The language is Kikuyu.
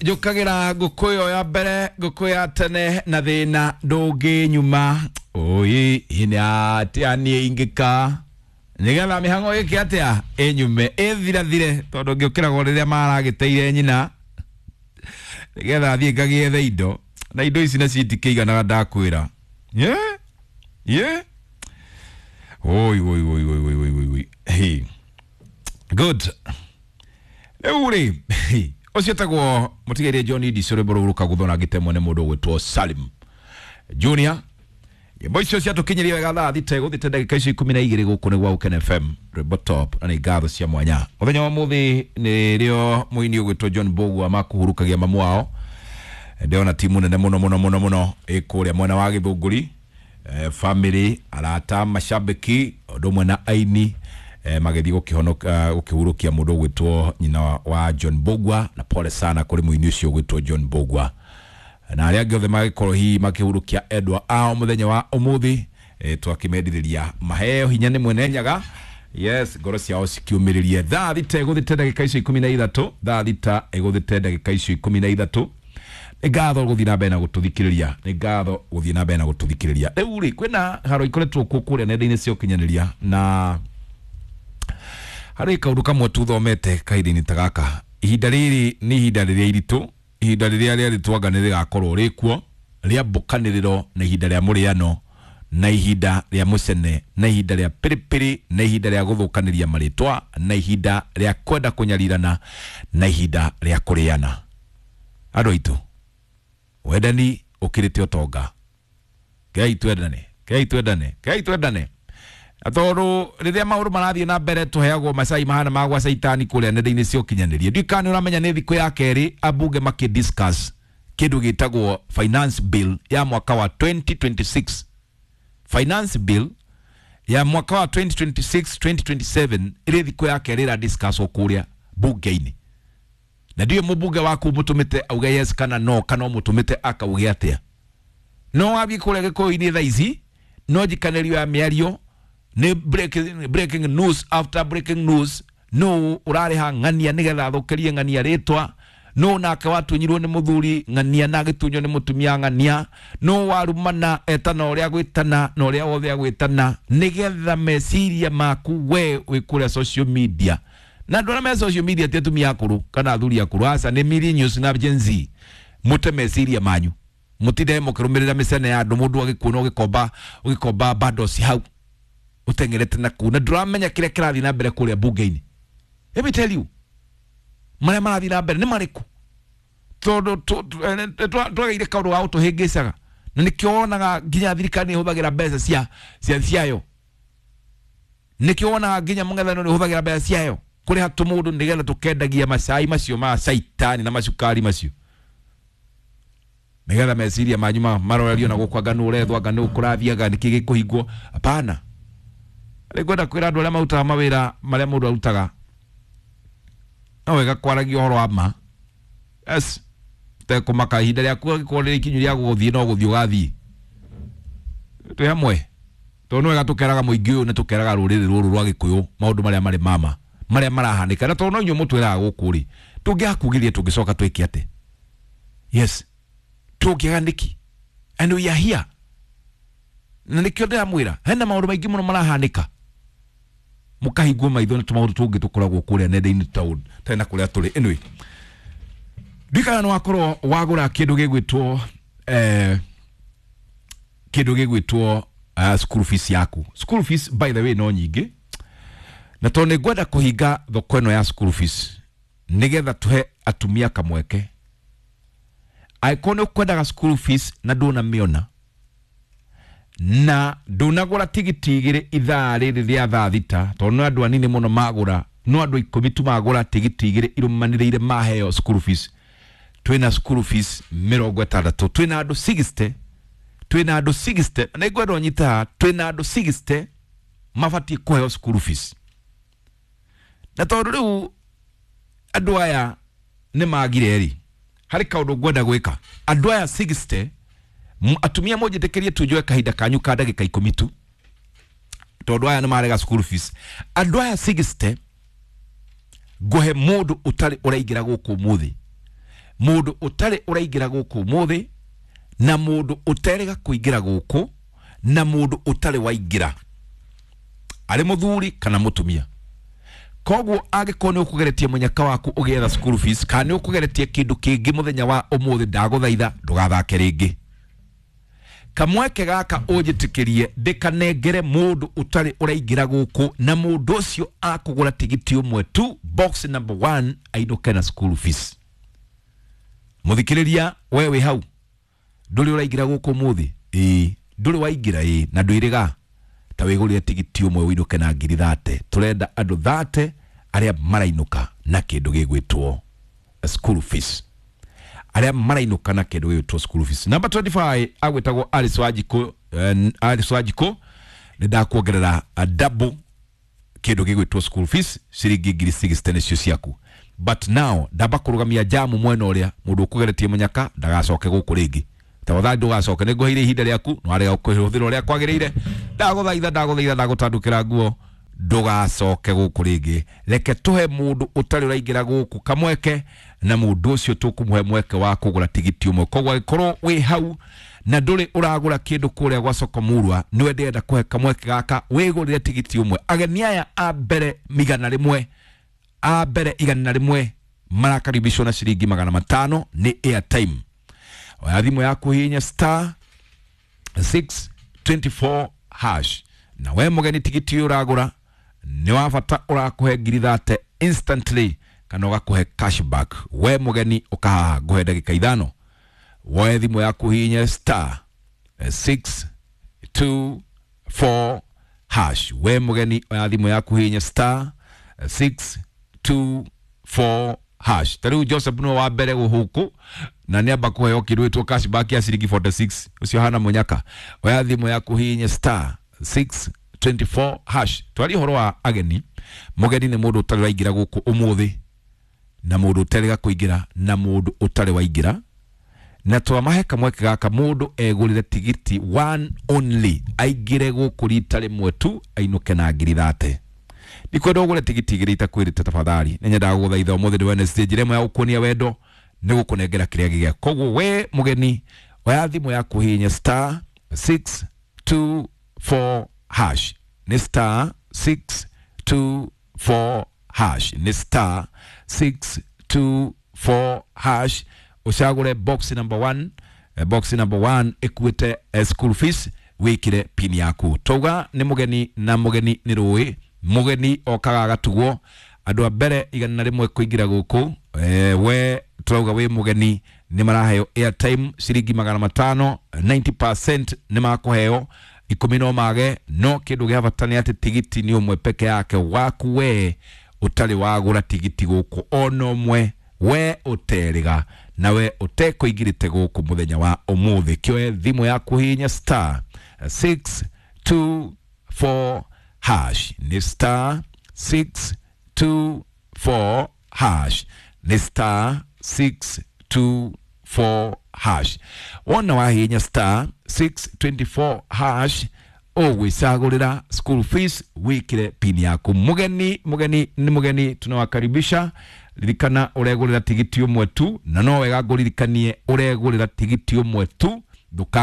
Njũkagĩra ngũkũ ĩyo ya mbere, ngũkũ ya tene na thĩna ndũngĩnyuma. Oi, nĩ atĩa niĩ ingĩka nĩgetha mĩhang'o ĩke atĩa ĩnyume ĩthirathire, tondũ ngĩũkĩragwo rĩrĩa maragĩteire nyina nĩgetha thiĩ ngagĩethe indo, na indo ici nacio itikĩiganaga ndakwĩra. Ye ye, oi oi oi oi oi oi oi, hey. Good. Rĩu rĩ, ũcio tagwo mũtigaire John Idis, rwĩmbo rũu rũkagũthwo na ngĩtemwo nĩ mũndũ ũgwĩtwo Salim Junior. Nyĩmbo icio ciatũkinyirie wega thaa 6 gũthiĩte ndagĩka icio 12. Gũkũ nĩ gwa Ũkene FM, rwĩmbo top, na nĩ ngatho cia mwanya. Mũthenya wa mũthĩ nĩrĩo mũini ũgwĩtwo John Mbũgua makũhurukagia mamu wao. Ndĩrona timu nene mũno mũno mũno mũno ĩ kũrĩa mwena wa Gĩthũngũri, family, arata, mashabiki, ũndũ ũmwe na aini, magĩthiĩ gũkĩhonoka gũkĩhurũkia mũndũ ũgwĩtwo nyina wa John Mbũgua. Na pole sana kũrĩ mũini ũcio ũgwĩtwo John Mbũgua na arĩa angĩ othe magĩkorwo hihi makĩhurũkia endwa ao mũthenya wa ũmũthĩ. Twakĩmendithĩria maheo hinya nĩ mwene Nyaga. Yes, ngoro ciao cikiumĩrĩrie. Thaa 6 ĩgũthĩte ndagĩka icio 13, thaa 6 ĩgũthĩte ndagĩka icio 13. Nĩ ngatho gũthiĩ na mbere na gũtũthikĩrĩria, nĩ ngatho gũthiĩ na mbere na gũtũthikĩrĩria. Rĩu rĩ, kwĩna haro ikoretwo kuo kũrĩa nenda-inĩ cia ũkinyanĩria, na harĩ kaũndũ kamwe tuthomete kahinda-inĩ ta gaka. Ihinda rĩrĩ nĩ ihinda rĩrĩa iritũ, ihinda rĩrĩa rĩarĩtwanga nĩ rĩgakorwo rĩkuo rĩa mbũkanĩrĩro, na ihinda rĩa mũrĩano, na ihinda rĩa mũcene, na ihinda rĩa pĩrĩpĩrĩ, na ihinda rĩa gũthũkanĩria marĩtwa, na ihinda rĩa kwenda kũnyarirana, na ihinda rĩa kũrĩana. Andũ aitũ, wendani ũkĩrĩte ũtonga. Ngai twendane, Ngai twendane, Ngai twendane. Na tondũ rĩrĩa maũndũ marathiĩ na mbere, tũheagwo macai mahana ma gwa caitani kũrĩa nenda-inĩ cia ũkinyanĩria. Ndiũĩ kana nĩ ũramenya nĩ thikũ ya kerĩ ambunge makĩ discuss kĩndũ gĩtagwo finance bill ya mwaka wa 2026. Finance bill ya mwaka wa 2026 2027 ĩrĩ thikũ ya kerĩ ĩra discusswo kũrĩa bunge-inĩ, na ndiũĩ mũmbunge waku mũtũmĩte auge yes kana no, kana ũmũtũmĩte akauge atĩa. No wathiĩ kũrĩa Gĩkũyũ-inĩ thaa ici, no njikanĩrio ya mĩario nĩ breaking news after breaking news. No ũrarĩha ng'ania nĩgetha athũkĩrie ng'ania rĩtwa, no nake watunyirwo nĩ mũthuri ng'ania na agĩtunywo nĩ mũtumia ng'ania, no warumana etana ũrĩa agwĩtana na ũrĩa wothe agwĩtana, nĩgetha meciria maku we wĩ kũrĩa social media. Na andũ arĩa me social media ti atumia akũrũ kana athuri akũrũ, aca, nĩ millennials na Gen Z. Mũte meciria manyu, mũtinde mũkĩrũmĩrĩra mĩcene ya andũ. Mũndũ agĩkuona ũgĩkomba ũgĩkomba bandos hau ũteng'erete na kuu, na ndũramenya kĩrĩa kĩrathiĩ na mbere kũrĩa bunge-inĩ. Let me tell you, marĩa marathiĩ na mbere nĩ marĩkũ, tondũ twagĩire kaũndũ ga gũtũhĩngĩcaga, na nĩkĩo wonaga nginya thirikari nĩ ĩhũthagĩra mbeca cia ciayo, nĩkĩo wonaga nginya mũng'ethanĩro nĩ ũhũthagĩra mbeca ciayo kũrĩha tũmũndũ nĩgetha tũkendagia macai macio ma caitani na macukari macio, nĩgetha meciria manyu marorerio na gũkũ, anga nũ ũrethwo, anga nũ kũrathiaga, nĩkĩ gĩkũhingwo. Hapana. Rĩ ngwenda kwĩra andũ arĩa marutaga mawĩra marĩa mũndũ arutaga, no wega kwaragia ũhoro wa ma. Yes, tekũmaka ihinda rĩaku angĩkorwo rĩrĩ ikinyu rĩa gũthiĩ, no gũthiĩ ũgathiĩ. Twĩ hamwe, tondũ nĩ wega tũkeraga mũingĩ ũyũ, nĩ tũkeraga rũrĩrĩ rũrũ rwa Gĩkũyũ maũndũ marĩa marĩ mama, marĩa marahanĩka. Na tondũ no inyuĩ mũtwĩraga gũkũ rĩ, tũngĩakugĩria tũngĩcoka twĩke atĩ? Yes, tũngĩaga nĩkĩ? And we are here, na nĩkĩo ndĩramwĩra hena maũndũ maingĩ mũno marahanĩka. Mũkahingwo maitho nĩ tũmaũndũ tũngĩ tũkoragwo kũrĩa nenda-inĩ tarĩ na kũrĩa tũrĩ. Anyway, ndikana nĩ wakorwo wagũra kĩndũ gĩgwĩtwo kĩndũ gĩgwĩtwo school fees yaku. School fees, by the way, no nyingĩ, na tondũ nĩ ngwenda kũhinga thoko ĩno ya school fees nĩgetha tũhe atumia kamweke, angĩkorwo nĩ ũkwendaga school fees na ndũnamĩona na ndũnagũra tigiti 2 ithaa rĩrĩ rĩa thaa 6, tondũ no andũ anini mũno magũra, no andũ 10 tu magũra tigiti 2 irũmanĩrĩire maheo school fees. Twĩna school fees 60, twĩna andũ 60, twĩna andũ 60, na nĩngwenda ũnyite haha, twĩna andũ 60 mabatiĩ kũheo school fees. Na tondũ rĩu andũ aya nĩ magire rĩ, harĩ kaũndũ ngwenda gwĩka. Andũ aya 60, atumia, mũnjĩtĩkĩrie tu njoe kahinda kanyu ka ndagĩka 10 tu, tondũ aya nĩ marega school fees. Andũ aya 60, ngũhe mũndũ ũtarĩ ũraingĩra gũkũ ũmũthĩ. Mundu utari uraingira guku muthi na mundu uterega kuingira guku na mundu utari waingira ari muthuri kana mutumia. Koguo angĩkorwo nĩ ũkũgeretie mũnyaka waku ũgĩetha school fees kana nĩ ũkũgeretie kĩndũ kĩngĩ mũthenya wa ũmũthĩ, ndagũthaitha ndũgathake rĩngĩ. Kamweke gaka ũnjĩtĩkĩrie ndĩkanengere mũndũ ũtarĩ ũraingĩra gũkũ na mũndũ ũcio akũgũra tigiti ũmwe tu, box number 1, ainũke na school fees. Mũthikĩrĩria, we wĩ hau ndũrĩ ũraingĩra gũkũ ũmũthĩ? Ĩĩ. Ndũrĩ waingĩra? Ĩĩ. Na ndwĩrĩga ta wĩgũrĩre tigiti ũmwe ũinũke na ngiri 30. Tũrenda andũ 30 arĩa marainũka na kĩndũ gĩgwĩtwo school fees, arĩa marainũka na kĩndũ gĩgwĩtwo school fees. Number 25 agwĩtagwo Alice Wanjikũ. Alice Wanjikũ, nĩ ndakuongerera double kĩndũ gĩgwĩtwo school fees, ciringi ngiri 60 nĩcio ciaku. But now ndamba kũrũgamia jamu mwena ũrĩa mũndũ ũkũgeretie mũnyaka ndagacoke gũkũ rĩngĩ. Tafadhali ndũgacoke, nĩ ngũheire ihinda rĩaku no warega kũhũthĩra ũrĩa kwagĩrĩire. Ndagũthaitha, ndagũthaitha, ndagũtandũkĩra nguo, ndũgacoke gũkũ rĩngĩ. Reke tũhe mũndũ ũtarĩ ũraingĩra gũkũ kamweke, na mũndũ ũcio tũkũmũhe mweke wa kũgũra tigiti ũmwe. Koguo angĩkorwo wĩ hau na ndũrĩ ũragũra kĩndũ kũrĩa gwa soko murwa, nĩwe ndĩrenda kũhe kamweke gaka wĩgũrĩre tigiti ũmwe. Ageni aya a mbere 100, a mbere 101 marakaribishwo na ciringi 500 nĩ airtime. Oya thimũ yaku, hihinya star 624 hash. Na we mũgeni, tigiti ũyũ ũragũra nĩ wa bata, ũrakũhe ngiri 30 instantly kana ũgakũhe cashback. We mũgeni, ũkahaha, ngũhe ndagĩka 5. Woe thimũ yaku, hihinya star 624 hash. We mũgeni, oya thimũ yaku, hihinya star 624 hash. Ta rĩu Joseph nĩwe wa mbere gũkũ na nĩ amba kũheo kĩndũ gĩtwo cashback ya ciringi 46. Ũcio hana mũnyaka. Oya thimũ yaku, hihinya star 624 hash. Twarie ũhoro wa ageni. Mũgeni nĩ mũndũ ũtarĩ waingĩra gũkũ ũmũthĩ na mũndũ ũterĩga kũingĩra na mũndũ ũtarĩ waingĩra, na twamahe kamweke gaka mũndũ egũrĩre tigiti one only, aingĩre gũkũ rita rĩmwe tu, ainũke na ngiri 30. Ndikwenda ũgũre tigiti igĩrĩ itakwĩrĩte. Tafadhali, nĩ nyendaga gũgũthaitha ũmũthĩ nĩ Wednesday, njĩra ĩmwe ya gũkuonia wendo nĩ gũkũnengera kĩrĩa gĩgĩa. Koguo we mũgeni, oya thimũ yaku, hihinya star 624 hash. Nĩ star 624 hash, nĩ star 624 hash. Ũcagũre box number 1. Box number 1 ĩkuĩte school fees, wĩkĩre pin yaku. Twauga nĩ mũgeni, na mũgeni nĩ rũĩ, mũgeni okaga agatugwo. Andũ a mbere 101 kũingĩra gũkũ, we turauga wĩ mũgeni, nĩ maraheo airtime ciringi 500, 90% nĩ makũheo, 10 no mage. No kĩndũ gĩa bata nĩ atĩ tigiti nĩ ũmwe peke yake waku, we ũtarĩ wagũra tigiti gũkũ ona ũmwe, we ũterĩga na we ũtekũingĩrĩte gũkũ mũthenya wa ũmũthĩ. Kĩoe thimũ yaku, hihinya star 624 hash. Nĩ star 624 hash, nĩ star 624 hash. Wona wahihinya star 624 hash, ũgwĩcagũrĩra school fees, wĩkĩre pin yaku. Mũgeni, mũgeni nĩ mũgeni, tunawakaribisha. Ririkana ũregũrĩra tigiti ũmwe tu, na no wega ngũririkanie ũregũrĩra tigiti ũmwe tu. Ndũka